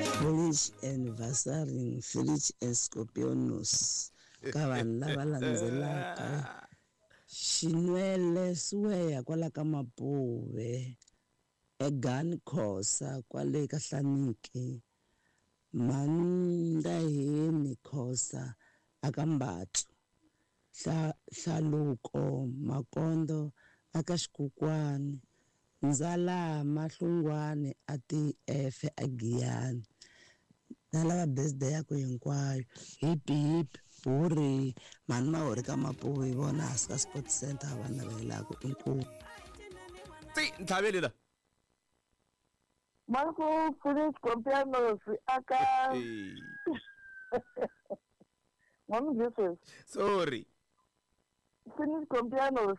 Foolish and Vasaring Felice and Scorpionus ka vanhu lava landzelaka Xinwele Siweya kwala ka Mapuve Egani Khosa kwale ka Hlaniki Mhandaheni Khosa aka Mbatlu Hlaluko Makondo aka Xikukwani Ndzalama Hlungwani a TF a Giyani na lava birthday yaku hinkwayo hip hip huree mhani Mahori ka Mapuve hi vona hansi ka Sports Center va navelelaku inkomu. Tsi ntlhaveli la. Marco Feliz Compianos aka N'wamujisesi. Sorry. Finish Compianos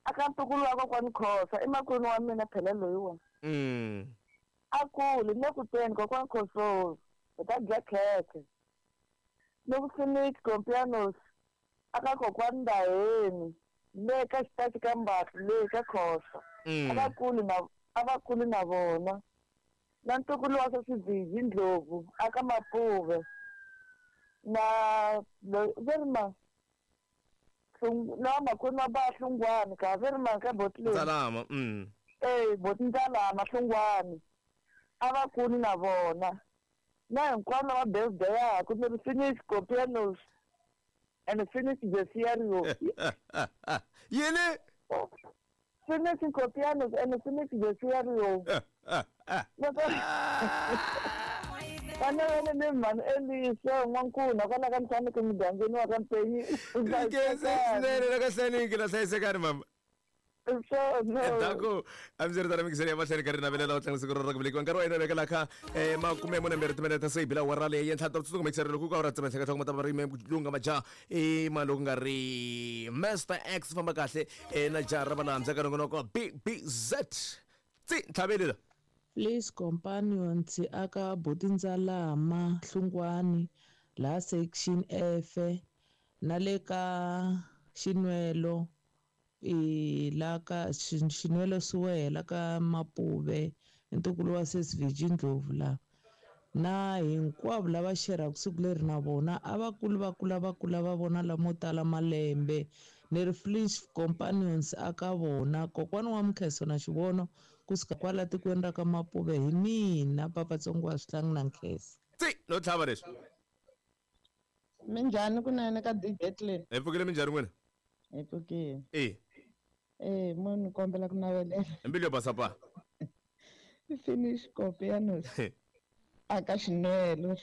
aka ntukulu wa kokwani Khosa i makwenu wa mina phela loyiwa. A kuli ni le ku teni kokwani Khoso hi ta dya khekhe. Ni ku Finish Compianos aka kokwani Ndaheni le ka xitachi ka Mbatlu le ka Khosa. A va kuli na a va kuli na vona. Na ntukulu wa sesi Bizi Ndlovu aka Mapuve na loyi ve ri ma na makwenu wa ba Hlungwani ka ve ri mani ka boti leyi Ndzalama. E boti Ndzalama Hlungwani a va kuli na vona na hinkwavo lava birthday-aku ni ri finish Copianos and finish Jesiario. Yini? Finish Copianos and finish Jesiario. Loko vana va ni mhani Elisa n'wankuna kwala ka Nhlaniki mugangeni wa ka Mpenyi. Nkhensa swinene la ka Nhlaniki la hlayisekani mama. Endzhaku a ndzi ri tana mikiseni ya mahlweni ka ri navelela u tlanga siku ra ku velekiwa nkarhi wa hina vekela kha makume mune mbirhi timinete ta se bila awara leyi yentlha ta tsutsuka mikiseri loko ku awara tsema hleka hloko matava ri lunga majaha i ma loko nga ri Master X famba kahle na jaha ra valambya ka nongonoko BBZ tsi ntlhaveli la Please companions aka buti Ndzalama Hlungwani laha section F na le ka Xinwelo i la ka Xinwelo Siwehe la ka Mapuve i ntukulu wa sesi Virgin Ndlovu la na hinkwavo lava xerhaka siku leri na vona a va kuli va kula va kula va vona lamo tala malembe ni ri Flinch Companions aka vona kokwani wa Mkheso na Xivono kusuka kwala tikweni ra ka Mapuve hi mina Papa Tsongo wa Swihlangi na Nkhesa. Tsi no tlhava leswi. Minjhani kunene ka DJ Clean? Hi pfukile minjhani n'wina? Hi pfukile. E. Eh, mo ni kombela ku navelela. Hi mbilu yo basa pa. Finish Copianos. Aka xinwelo,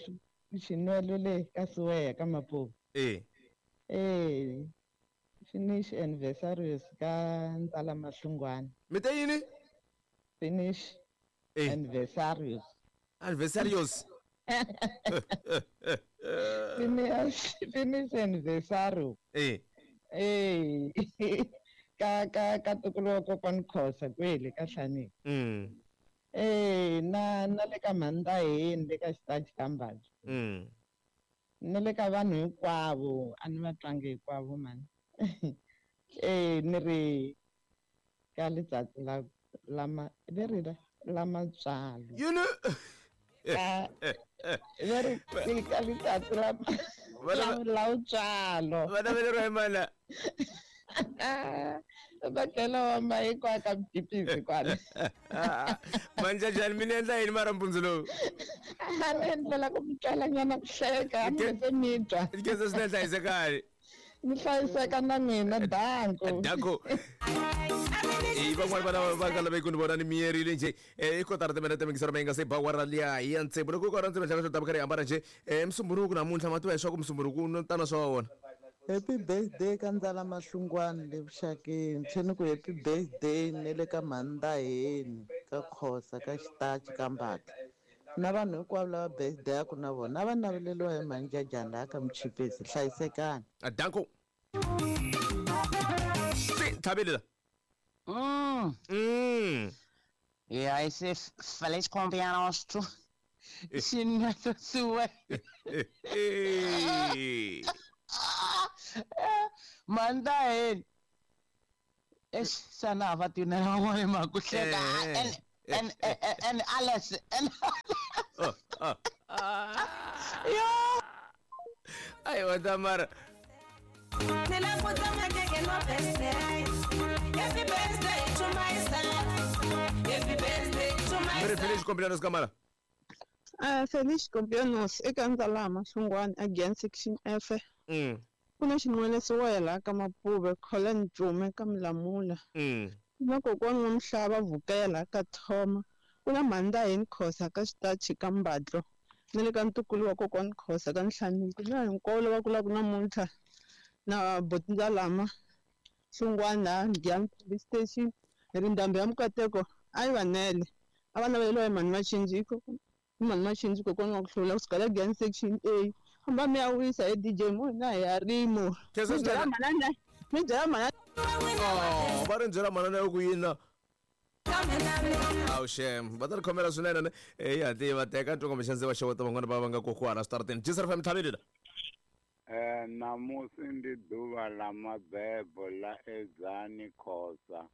xinwelo le ka Siweya ka Mapuve. E. Eh. Finish anniversaries ka Ntsala Mahlungwana. Mi te yini? Finish Eh. anniversaries. Anniversarios. Finish finish anniversario. Eh. Eh. Ka ka ka tukulu wa kokwani Khosa kwele ka Hlaneki. Eh na na le ka Mhandaheni le ka xitachi ka Mbaji. Ni le ka vanhu hinkwavo a ni va twangi hinkwavo mani. Eh ni ri ka letsatsi la la ma ve ri la la matswalo. Yini? Ka ve ri ka letsatsi la la la utswalo. Va naveleriwa hi mani la? Va tlhela va ma hinkwayo ka mjipisi kwala. Manjajani mi ni endla yini mara mpundzu lowu? A ni endlela ku mi twela nyana ku hleka, a mi se mi twa. Nkhensa swinene hlayisekani. Mi hlayiseka na mina, danko. Danko. I van'wani vana va nga laveki ku ni vona ni miyerile njhe i kotara timinete mingisero ma yi nga se ba awara liya ya tsevu loko ku awara tsevu hlaka swo ta va karhi hi hambana njhe musumbunuku namuntlha ma tiva leswaku musumbunuku no tana swa wona. Happy birthday ka Ndzala Mahlungwani le vuxakeni tlhe ni ku happy birthday ne le ka Mhandaheni ka Khosa ka Xitachi ka Mbatla na vanhu hinkwavo lava birthday-aku na vona a va naveleliwa hi Mhanjajani laha ka Muchipisi hlayisekani. Danko. Si, tlhaveli la. Yeah, ese feliz cumpleaños tu. Xinweto siwe. Mandaheni. Eish, sana va tinela van'wana hi mhaka ku hleka. And and and and Alex and Yo. Ayiwa Tamara. Happy birthday to myself. Happy birthday to myself. Feliz cumpleaños Kamala. Feliz cumpleaños eka Ndzalama Hlungwani again section F. Kuna xin'wana siwela ka Mapuve Colin Ncume ka Mlamula. Na kokwana wa Mhlava Vukela ka Thoma. Kuna Mhandaheni Khosa ka Xitachi ka Mbadlo. Na le ka ntukulu wa kokwana Khosa ka Nhlaniki. Na hinkwavo lava kulaka namuntlha na buti Ndzalama Hlungwani laha Giyani Police Station. Hi ri ndhambi ya Mukateko a yi vanele. A va naveleriwa hi mhani Machinjiko. Mhani Machinjiko kokwana wa ku hlula kusuka la Giyani section A. Hamba mi ya wisa hi DJ mo na hi ya rimo. Mi byela manana. Mi byela manana. Oh, va ri byela manana ya ku yina. Awu shem, va ta ri khomela swinene ne. Eh ya ti va teka ntongo mixandzi va xeweta van'wana va va nga kokwana switarateni. Jesus FM Thabile la. Namusi ndi ḓuvha ḽa mabebo ḽa Edzani Khosa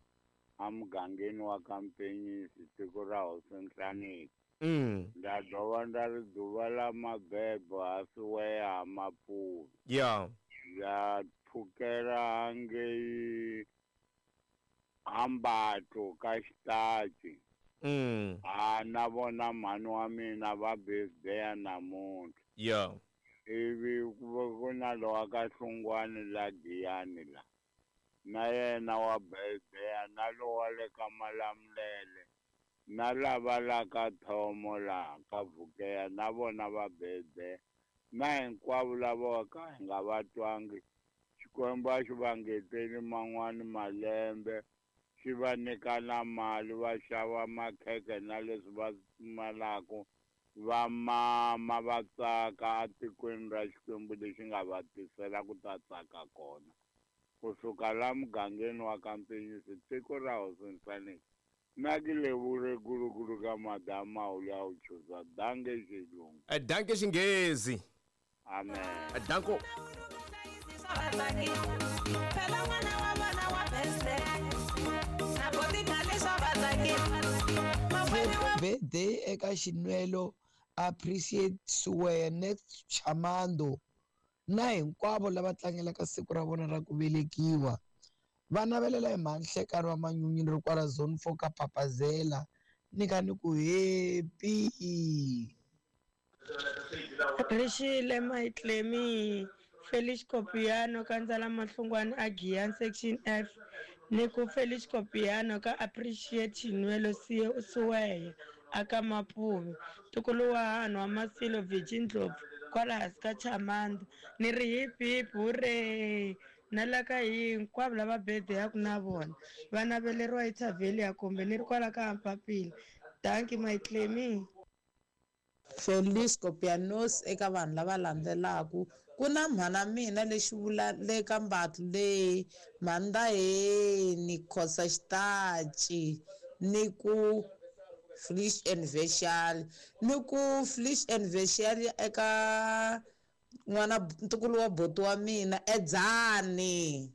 a mugangeni wa Kampenyisi tiko ra Hosi Nhlaniki. Nda dovha nda ri ḓuvha ḽa mabebo ha Siweya ha Mapuve. Yeah. Ya pfukela hangei ha Mbatlo ka Xitachi. Ha na vona mhani wa mina va birthday namuntlha. Yeah. Ivi ku na lowa ka Hlungwani la Giyani la. Na yena wa birthday na lowa le ka Malamulele. Na lava la ka Thomo la ka Vukeya na vona va birthday. Na hinkwavo lava ka hi nga va twangi. Xikwembu a xi va ngeteli man'wani malembe. Xi va nyika na mali va xava makhekhe na leswi va pfumalaka. Va mama va tsaka etikweni ra Xikwembu lexi nga va tisela ku ta tsaka kona. Kusuka la mugangeni wa Kampenyisi tiko ra Hosi Nhlaniki. Na ki levure kulukulu ka madama u ya u chuza danke xilungu. Danke xinghezi. Amen. Danko. Birthday eka Xinwelo Appreciate Siweya next Chamando na hinkwavo lava tlangelaka siku ra vona ra ku velekiwa. Va navelela hi mhanhlekani wa manyunyu ri kwala zone 4 ka Papazela ni ka ni ku happy. Rixile Maitlemi Felix Copiano ka Ndzalama Hlungwani a Giyani section F ni ku Felix Copiano ka Appreciate Xinwelo Siweya aka Mapuve ntukulu wa hanhu wa Masilo Virgin Ndlopfu kwala hansi ka Chamanda ni ri hip hip hooray na la ka hinkwavo lava birthday ya ku na vona va naveleriwa hi Thavelia kumbe ni ri kwala ka Mpapila. Thank you Maitlemi. Feliz Copianos eka vanhu lava landzelaka ku na mhana mina lexi vula le ka Mbatlo leyi Mhandaheni Khosa Xitachi ni ku Feliz Anniversary ni ku Feliz Anniversary eka n'wana ntukulu wa boti wa mina Edzani.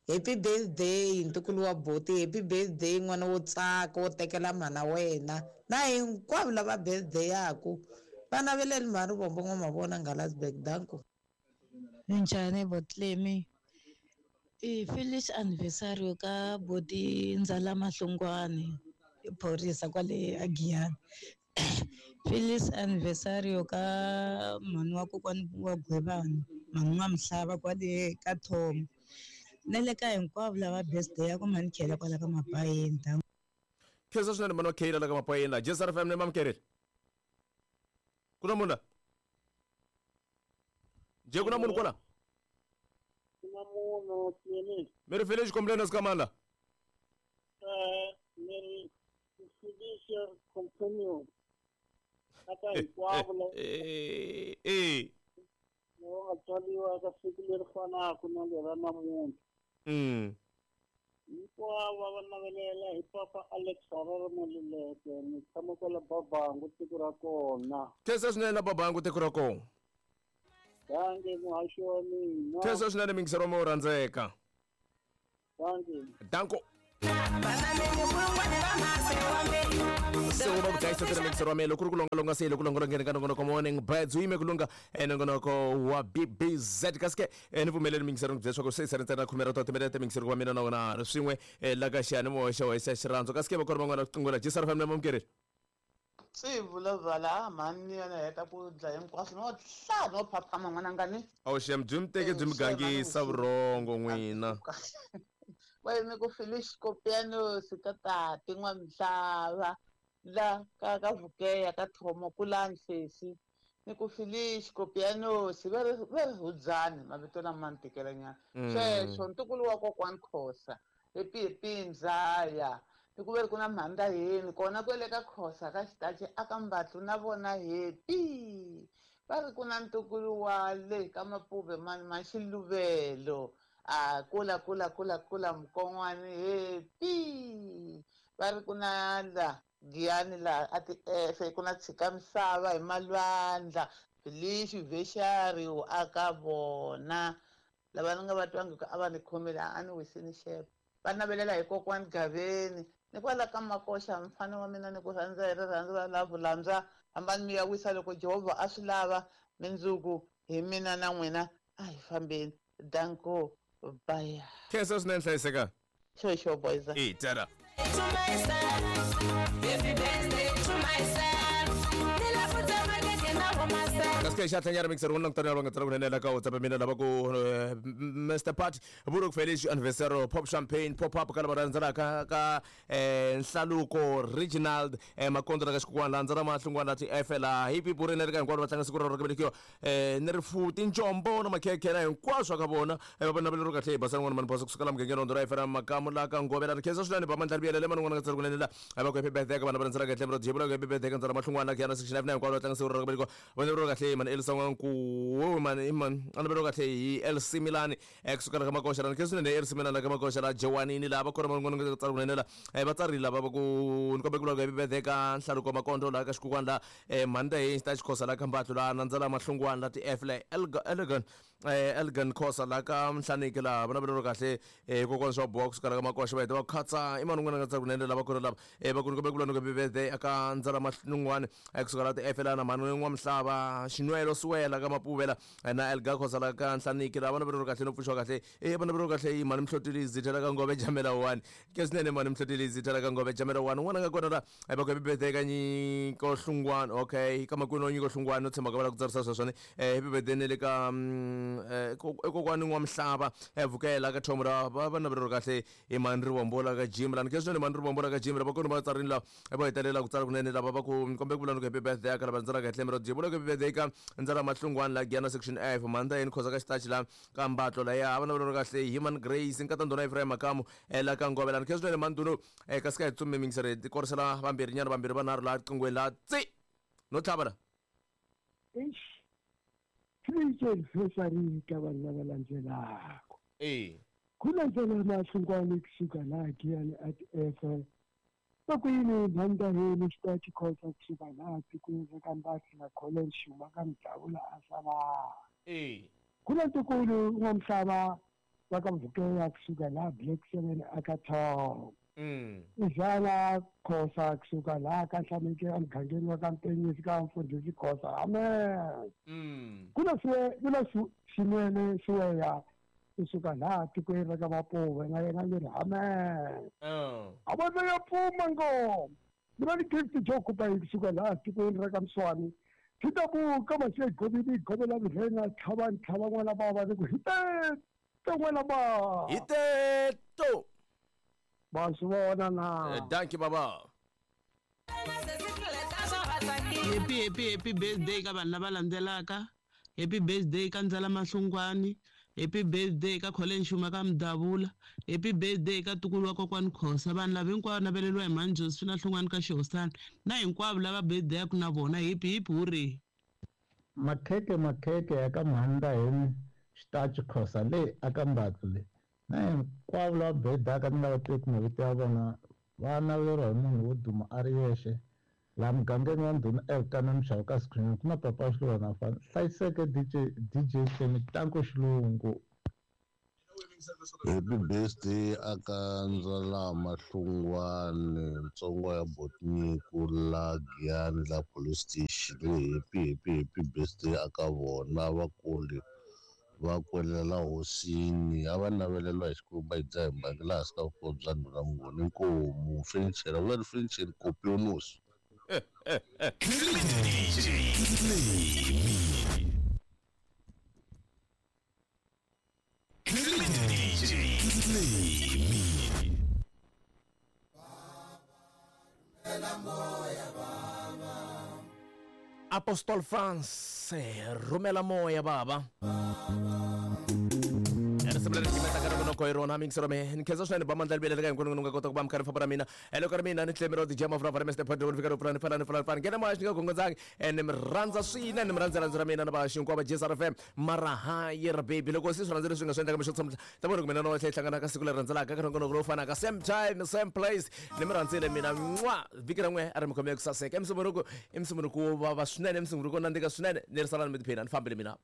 Happy birthday ntukulu wa boti, happy birthday n'wana wo tsaka wo tekela mhana wena na hinkwavo lava birthday yaku va naveleli mhani Rivombo N'wamavona Ngalasberg. Danko. Minjhani Botlemi? I Feliz anniversary ka boti Ndzalama Hlungwani phorisa kwale Agiyani. Feliz anniversary ka mhani wa kokwani wa Gwebani mhani wa Mhlava kwale ka Thomo na le ka hinkwavo lava birthday ya ku mhani Khela kwala ka Mapayeni. Khensa swinene mhani wa Khela la ka Mapayeni la. Jesus FM ne mamkereli. Ku na munhu la? Nje ku na munhu kwala? Ku na munhu Clement. Mi ri Feliz cumpleaños ka mani la? Mi ri Felicia Companion. Aka hinkwavo lava nga tswariwa eka siku leri fanaka na lera namuntlha. Hinkwavo va navelela hi papa Alex Harare Maluleke ni tshama kwala Babangu tiko ra kona. Khensa swinene la Babangu tiko ra kona. Danke muhaxi wa mina. Khensa swinene mingisero wa wo rhandzeka. Danke. Danko. Se wu va ku dlayisa tira mixer wa mina loko ku ri ku longalonga se loko longolongeni ka nongonoko Morning Birds wu yime ku lunga nongonoko wa BBZ. Kasi ke ni pfumeleli mixer ni ku byela leswaku se se ri ntsena khume ra ta timinete mixer wa mina na wena ri swin'we la ka xiyanimoya xa wena xa xirhandzu. Kasi ke va kona van'wana ku jisar family mamukeri swi vulavula mhani yena heta ku dlaya hinkwaswo no hla no phaphama n'wananga ni awu xem byi mi teke byi mi gangisa vurhongo n'wina. Va yime ku Felice Kopiano ka tati n'wamisava la ka ka Vukeya ka Thomo kulani sesi ni ku Felice Kopiano va ri va ri hudzani mavito lama ni tikela nyana. Sweswo ntukulu wa kokwani Khosa happy Mzaya ni ku ve ri ku na mhanda yini kona kwele ka Khosa ka xitachi aka Mbatlu na vona happy va ri ku na ntukulu wa le ka Mapuve mani ma Xiluvelo a kula kula kula kula mukon'wani happy va ri ku na la Giyani la a ti efe ku na tshika misava hi malwandla Felice Veshari aka vona lava ni nga va twangiki a va ni khomile a ni wisini xepo va navelela hi kokwani Gaveni ni kwala ka Makoxa mfana wa mina ni ku rhandza hi rirhandzu ra lava landza hambani mi ya wisa loko Jehovha a swi lava mindzuku hi mina na n'wina a hi fambeni danko bye. Khensa swinene hlayiseka. Sure boys. E tara. To myself, happy birthday to myself. Kasi xa tlhanyana mixer wona langutana va nga tsala kunene la ka WhatsApp mina lava ku Mr Pat Buruk Felice anniversaire pop champagne pop up ka lava rhandzelaka ka Nhlaluko Reginald Makondo la ka xikukwana landzela mahlungwana ti FL hipi burene ri ka hinkwavo va tlanga siku ra ku velekiwa ni rifu tinjombo na makhekhe na hinkwaswo ka vona va naveleriwa kahle hi basana n'wana mani bosa kusukela mugangeni rondo ra FL makamu la ka Ngovela ri khensa swinene ba mandla ribiyele le man'wana nga tsala kunene la va ku happy birthday ka vana va rhandzelaka hi tlhelo ra jebula ku happy birthday ka ndzala mahlungwana ka yana section 9 hinkwavo va tlanga siku ra ku velekiwa va naveriwa kahle mani Elsa N'wanku mani mani a naveriwa kahle hi LC Milani kusukela ka Makoxa la khensa swinene LC Milani la ka Makoxa la Jewanini la va kona van'wana nga tsala kunene la va tsarile lava va ku ni kombe ku vula ku happy birthday ka Nhlaluko Makondo la ka xikukwana la Mhanda hi xita Xikhosa la ka Mbatlu la nandzela mahlungwana la ti F la Elgan Elgan Khosa la ka Nhlaniki la va naveriwa kahle kokwana swa box kusukela ka Makoxa va heta va khatsa i mani un'wana nga tsala kunene lava kona lava va ku ni kombe ku vula ni ku happy birthday aka ndzala mahlungwana kusukela la ti F la na mhani n'wa misava Xinwelo Siwela ka Mapuvela na Elga Khosa la ka Nhlaniki la va naveriwa kahle no pfuxiwa kahle va naveriwa kahle hi mhani Mhlotilizi tlhela ka Ngove Jamela 1 ke swinene mhani Mhlotilizi tlhela ka Ngove Jamela 1 un'wana nga kona la va ku happy birthday ka Nyiko Hlungwana okay ka makwenu wa Nyiko Hlungwana no tshemba ka va la ku tsarisa sweswone happy birthday ne le ka kokwani n'wa misava Vukela ka Thomo la va naveriwa kahle hi mhani Rivombo la ka Jim lani ke swinene mhani Rivombo la ka Jim lava kona va tsarini la va hetelela ku tsala kunene lava va ku kombe ku vula ni ku happy birthday ka lava rhandzelaka hi tlhelo ra jibula ku happy birthday ka ndzala mahlungwana la Giyana section F mhanda yini Khosa ka xitachi la ka Mbatlo la ya va naveriwa kahle hi Human Grace nkata ndhuna Ephraim Makamu la ka Ngove lani ke swinene mhani Ndunu kasi ka hi tsumbe mingisere ti korisela vambirhi nyana vambirhi vanharhu la qingweni la tsi no tlhava la Eish. Felice ka vanhu lava landzelaka. Ku landzela mahlungwana kusuka laha Giyani at F va ku yini mhanda heni xitachi Khosa kusuka laha tikweni ra ka Mbatlu na College Xuma ka Mdavula a sala. Ku na ntukulu n'wa misava va ka Vukeya kusuka laha Black 7 aka Tom. Izala Khosa kusuka laha ka Nhlaniki emugangeni wa ka Mpenyisi ka Mfundhisi Khosa. Amen. Ku na ku na Xinwele Siweya kusuka laha tikweni ra ka Mapuve na yena ni ri amen. A va ya pfuma ngoma. Ni va ni gift jo kupa kusuka laha tikweni ra ka Mswani. Swi ka masiya govini govela virhenga tlhava tlhava n'wana bava ni ku hi teto n'wana bava. Hi teto. Va swi vona na. Dankie baba. Happy happy happy birthday ka vanhu lava landzelaka. Happy birthday ka Ndzala Mahlungwani. Happy birthday ka Colin Xuma ka Mdavula. Happy birthday ka ntukulu wa kokwani Khosa. Vanhu lava hinkwavo naveleriwa hi mhani Josephine Hlungwani ka Xihosana na hinkwavo lava birthday yaku na vona happy happy hooray. Makheke makheke ya ka mhanda heni xitachi Khosa le aka Mbatlu le na hinkwavo lava birthday ni nga va tivi mavito ya vona va naveriwa hi munhu wo duma a ri yexe laha mugangeni wa ndhuna Elkana Mxava ka Screen ku na papa Xilwana fana hlayiseke DJ DJ Hlemi Tanko Xilungu. Happy birthday aka Ndzalama Hlungwane ntsongo ya Botniku la Giyani la police station. Happy happy happy birthday aka vona vakuli va kwelela hosini a va naveleliwa hi Xikwembu va hi dzaha hi mbangi laha hansi ka vukosi bya ndhuna Mnguni. Inkomu fenichela vula fenicheli kopionosi. Apostol France rhumela moya baba. Risimu leri gimeta ka nongonoko hi rona mingisero me ni khensa swinene ba mandla libele ka hinkwenu ni nga kota ku va mi kha ri famba na mina hello ka ri mina ni tlemi ro DJ Mavura Mr Podro ni fika ro pfula ni fana ni fana ni fana nghena moya xi nga gongondzangi ni mi rhandza swinene ni mi rhandza rhandzu ra mina na va xinkwava JSR FM mara hayi ra baby loko se swi rhandza leswi nga swi endlaka mixo tshamla ta vona ku mina no tlhela hi hlangana ka siku leri rhandzelaka ka nongonoko lowu fanaka same time same place ni mi rhandzile mina n'wa vhiki ra n'we a ri mi khome ku saseka i musumbunuku i musumbunuku wo vava swinene i musumbunuku wo nandzika swinene ni ri salani mi tiphina ni fambile mina.